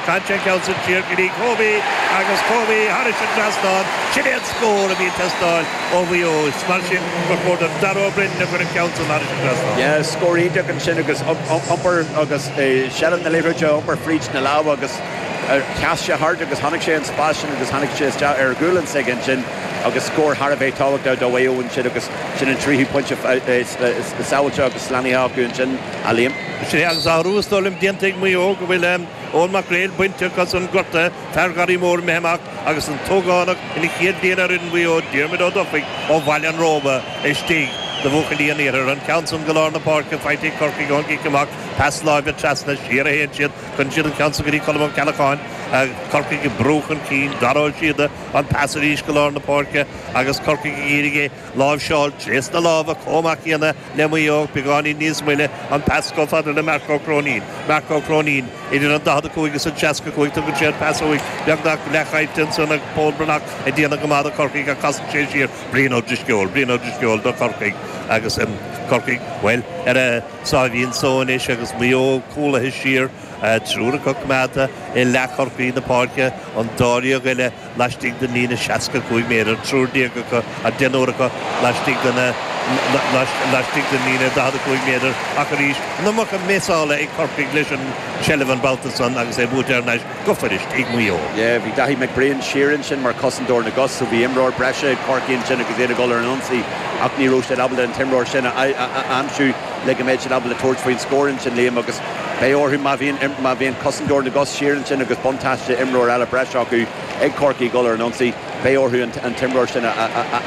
Caitheann sé an ceann san siar go dtí Kobe agus Kobe thairis an trasnán. Sin é an scór a bhí ag teastáil ó Mhaigh Eo. Is mar sin gur chóir do Dara Ó Broin a chuir an ceann san thairis an trasnán. Yeah, scór iontach ansin agus iompar agus seilbh na liathróide, iompar fríd na lámha agus sheas sé thart agus chonaic sé an spás sin agus tháinig sé isteach ar ghualainn s'aige ansin agus scór thar a bheith tábhachtach do Mhaigh Eo ansin agus sin an tríú pointe sábháilte agus slánaithe acu ansin, a Liam. Sin é agus athrú is dóigh liom déanta ag Maigh Eo go bhfuil Eoin Mac Gréil bainte acu as an gortaithe, fear Gharraí Mór imithe amach agus an t-ógánach ina chéad bhliain ar fhoireann Mhaigh Eo, Diarmuid Ó Dufaigh ó Bhaile an Róba istigh do bhuachaillí an Iarthair. An ceann san go lár na páirce faighte ag Corcaigh ón gcic amach, pas láimhe trasna, siar a théann siad, cuireann siad an ceann san go dtí Colm Ó Ceallacháin, Corcaigh ag brú chun cinn, Dara Ó Síoda, an pas arís go lár na páirce agus Corcaigh ag iarraidh é láimhseáil trasna lámha chomh maith céanna le Maigh Eo, beagáinín níos moille, an pas chomh fada le Marc Ó Cróinín. Marc Ó Cróinín idir an 45 is an 65, tugann sé an pas uaidh, beagnach leathchaillte ansan ag Pól Breathnach ag déanamh go maith do Chorcaigh ach casann sé siar. Brian Ó Drisceoil, Brian Ó Drisceoil do Chorcaigh agus Corcaigh, bhuel, ar a sáimhín só anois agus Maigh Eo cúlaithe siar, triúr acu coimeádta i leath Chorcaí na páirce, an dáréag eile laistigh den líne 65 méadar, triúr déag acu, an deichniúr acu laistigh de na laistigh den líne 45 méadar ach arís an iomarca misseála ag Corcaigh leis an tseilbh an babhta san agus é buaite thar n-ais go fuirist ag Maigh Eo. Yeah, bhí Daithí McBrien siar ansin mar chosantóir na gcos so bhí imreoir breise ag Corcaigh ansin agus iad ag dul ar an ionsaí ach ní raibh siad ábalta an t-imreoir sin a aimsiú le go mbeadh siad ábalta tabhairt faoin scór ansin, Liam, agus Beidh orthu má bhíonn má bhíonn cosantóir na gcos siar ansin agus buntáiste imreoir eile breise acu ag Corcaigh ag dul ar an ionsaí, beidh orthu an t-imreoir sin a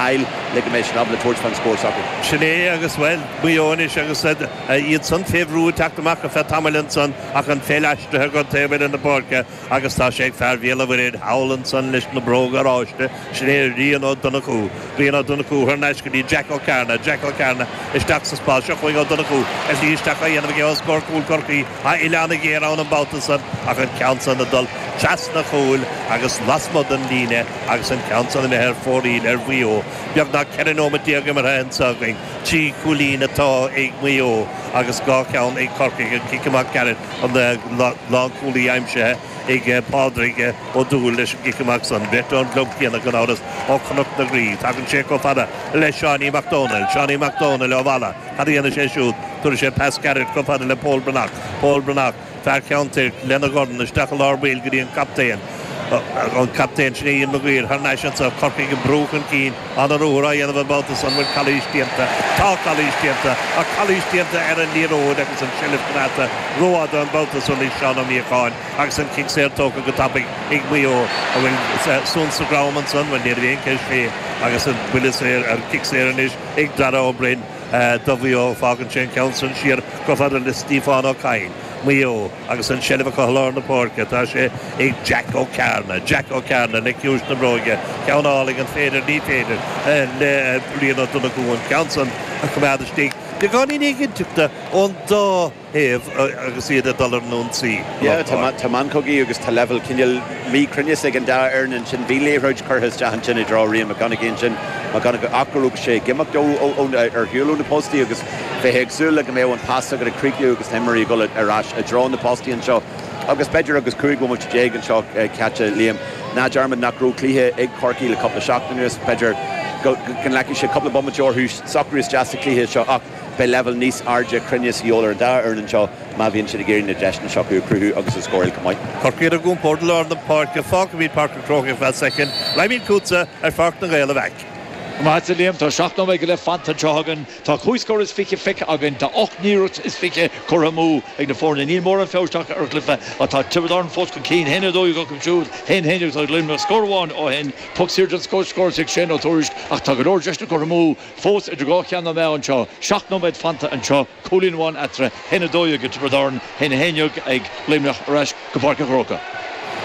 fháil le go mbeidh siad ábalta tabhairt fán scór s'acu. Sin é agus, bhuel, Maigh Eo anois agus iad san fé bhrú ag teacht amach ar feadh tamaill ansan ach an pheil aistrithe go taobh eile na páirce Agus tá sé ag fear Bhéal an Mhuirthead thall ansan leis na bróga oráiste, sin é Rian Ó Donnchú. Rian Ó Donnchú thar n-ais go dtí Jack Ó Cearna. Jack Ó Cearna isteach sa spás. Seo chugainn Ó Donnchú. A shlí isteach á dhéanamh aige os comhair cúl Chorcaí. Tá uille an-ghéar ann an babhta san ach an ceann san ag dul trasna chúil agus lasmuigh den líne agus an ceann san imithe ar fóraoil ar Mhaigh Eo. Beagnach 14 nóimeat imeartha anso againn. Trí chúilín atá ag Maigh Eo agus dhá cheann ag Corcaigh. An cic amach gairid. An lánchúlaí aimsithe ag Pádraig Ó Dúill leis an gcic amach san. Beirt ón gclub céanna gan amhras, ó Chnoc na Graí. Tagann sé chomh fada le Seánie Mac Dónaill. Seánie Mac Dónaill ó Mhalla. Cad a dhéanfaidh sé siúd? Tabharfaidh sé pas gairid chomh fada le Pól Breathnach. Pól Breathnach, fear Cheann Toirc, lena dhorn isteach i lár baill go dtí an captaen. An captaen, sin é Ian Maguire, thar n-ais anso. Corcaigh ag brú chun cinn. An-ruathar á dhéanamh an babhta san, bhfuil calaois déanta? Tá calaois déanta, ach calaois déanta ar an liathróid agus an tseilbh coimeádta rófhada an babhta san ag Seán Ó Míocháin agus an cic saor tógtha go tapaidh ag Maigh Eo. An bhfuil suan sa dhrom ansan? Bhuel, ní raibh aon cheist fé agus an buille saor, an cic saor anois ag Dara Ó Broin do Mhaigh Eo. Fágann sé an ceann san siar chomh fada le Stiofán Ó Cadhain. Maigh Eo agus an tseilbh acu i lár na páirce. Tá sé ag Jack Ó Cearna. Jack Ó Cearna le ciumhais na bróige. Ceann álainn, an féidir? Ní féidir le Rian Ó Donnchú an ceann san a choimeád istigh. Beagáinín éiginnteachta ón dá thaobh agus iad ag dul ar an ionsaí. Yeah, tá meancogaí agus tá leibhéal cineál míchruinneas ag an dá fhoireann ansin. Bhí liathróid curtha isteach ansin i dtreo Rian McConnochie ansin, McConnochie ach go raibh sé ag imeacht ar shiúl ó na postaí agus Bheifeá ag súil le go mbeadh an pas agat ag críochnú agus na himreoirí ag dul ar ais i dtreo na postaí anseo agus b'fhéidir agus 15 bhomaite anseo caite, Liam, ná dearmad nach raibh cluiche ag Corcaigh le cúpla seachtain anuas, b'fhéidir go nglacfaidh sé cúpla bomaite orthu socrú isteach sa chluiche seo ach beidh leibhéal níos airde cruinnis de dhíobháil ar an dá fhoireann anseo má bhíonn siad ag iarraidh na deiseanna seo acu a chruthú agus a scóráil chomh maith. Corcaigh ar a gcompord i lár na páirce, fágfaimid Páirc an Chrócaigh ar feadh soicind, raghaimid chugatsa ar Pháirc na nGael a Mheaic. Maith agat a Liam, tá 7 nóiméad go leith fanta anseo againn. Tá cúig scór is fiche feicthe againn. Tá ocht n-iarracht is fiche curtha amú ag na foirne. Níl mórán feabhais tagtha ar an gcluiche ach tá Tiobraid Árann fós chun cinn. 1-12 acu siúd, 1-11 ag Luimneach. Scór amháin ó shin. Poc saor den scoth scóráilte ag Shane Ó Tuairisg ach tá go leor deiseanna curtha amú fós idir dhá cheann na meá anseo. Seacht nóiméad fanta anseo. Cúilín amháin eatarthu, 1-12 ag Tiobraid Árann, 1-11 ag Luimneach ar ais go Páirc an Chrócaigh.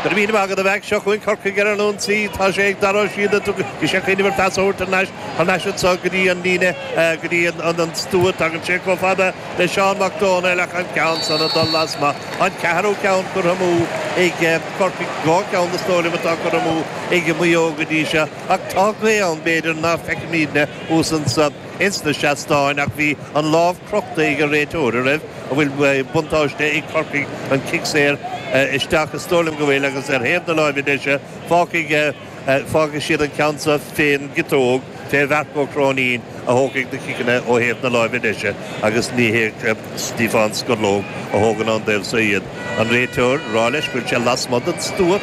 Go raibh míle maith agat a Mheaic. Seo chugainn Corcaigh ar an ionsaí. Tá sé ag Dara Ó Síoda. Bhí sé ag cuimhneamh ar phas a thabhairt thar n-ais, thar n-ais anso go dtí an líne, go dtí an stua. Tagann sé chomh fada le Seán Mac Dónaill ach an ceann san ag dul lasmuigh. An ceathrú ceann curtha amú ag Corcaigh. Dhá cheann is dóigh liom atá curtha amú ag Maigh Eo go dtí seo. Ach tá gaoth ann b'fhéidir ná feicimidne thuas anso. ins na seastáin ach bhí an lámh crochta ag an réiteoir, an raibh? An bhfuil buntáiste ag Corcaigh an cic saor isteach? Is dóigh liom go bhfuil agus ar thaobh na láimhe deise fágfaidh fágfaidh siad an ceann seo fén gciotóg fé Mharc Ó Cróinín a thógfaidh na ciceanna ó thaobh na láimhe deise agus ní hé Stiofán Scorlóg a thógann ón dtaobh so iad. An réiteoir ag rá leis go bhfuil sé lasmuigh den stua.